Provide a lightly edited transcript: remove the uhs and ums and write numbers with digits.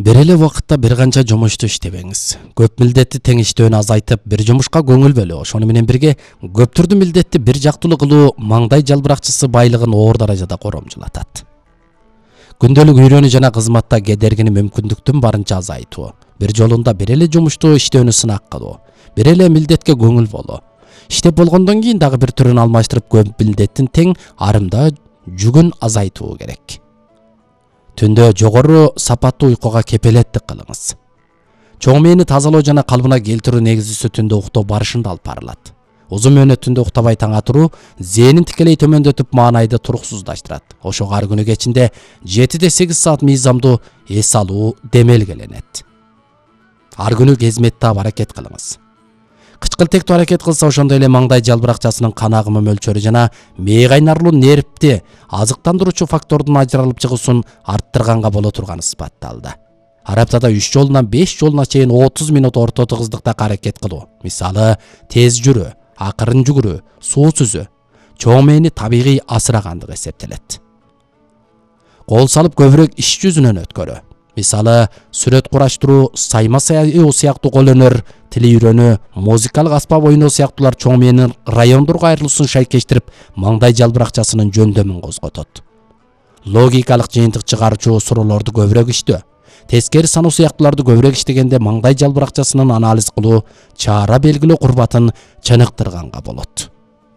Бир эле убакытта бир канча жумушту иштебеңиз. Көп милдетти тең иштөөнү азайтып, бир жумушка көңүл бөлүү, ошону менен бирге көп түрдүү милдетти бир жактылуу кылуу маңдай жалбыракчысы байлыгын оор даражада коромжулатат. Күндөлүк үйрөнүү жана кызматта кедергини мүмкүндүктүн барынча азайтуу, бир жолунда бир эле жумушту иштөөнү сынак кылуу, бир эле милдетке көңүл болуу. Иштеп болгондон кийин дагы бир түрүн алмаштырып көп милдеттин тең арымда жүгүн азайтуу керек. Түндө жогору сапаттуу уйкуга кепелеттик кылыңыз. Чоң мээни тазалоо жана калыбына келтирүү негизгиси түндө уктоо барышында алып барылат. Узун мөөнөт түндө уктабай таң атыруу зээнин тикелей төмөндөтүп маанайды туруксуздаштырат. Ошого ар күнү кечинде 7-8 саат мыйзамдуу эс алуу демелгеленет. Ар күнү кезмет таап аракет кылыңыз. Кычкылтектүү аракет кылса ошондой эле маңдай жалбыракчасынын кан агымы мөлчөрү жана мээ кайнарлуу нервти азыктандыруучу фактордун ажыралып чыгуусун арттырганга боло турганы ысбатталды. Ар аптада 3 жолунан 5 жолуна чейин 30 минут орто тыгыздыкта аракет кылуу. Мисалы, тез жүрүү, акырын жүгүрүү, суу сүзүү чоң мээни табигый асырагандык эсептелет. Кол салып көбүрөөк иш жүзүнөн өткөрүү. Мисалы, сүрөт кураштыруу, сайма саяоо сыяктуу кол өнөр, тил үйрөнүү, музыкалык аспап ойноо сыяктуулар чоң мээнин райондорго айрылуусун шайкештирип, маңдай жалбыракчасынын жөндөмүн козготот. Логикалык жыйынтык чыгаруучу суроолорду көбүрөөк иштөө, тескери саноо сыяктууларды көбүрөөк иштегенде маңдай жалбыракчасынын анализ кылуу, чара белгилөө курбатын чыныктырганга болот.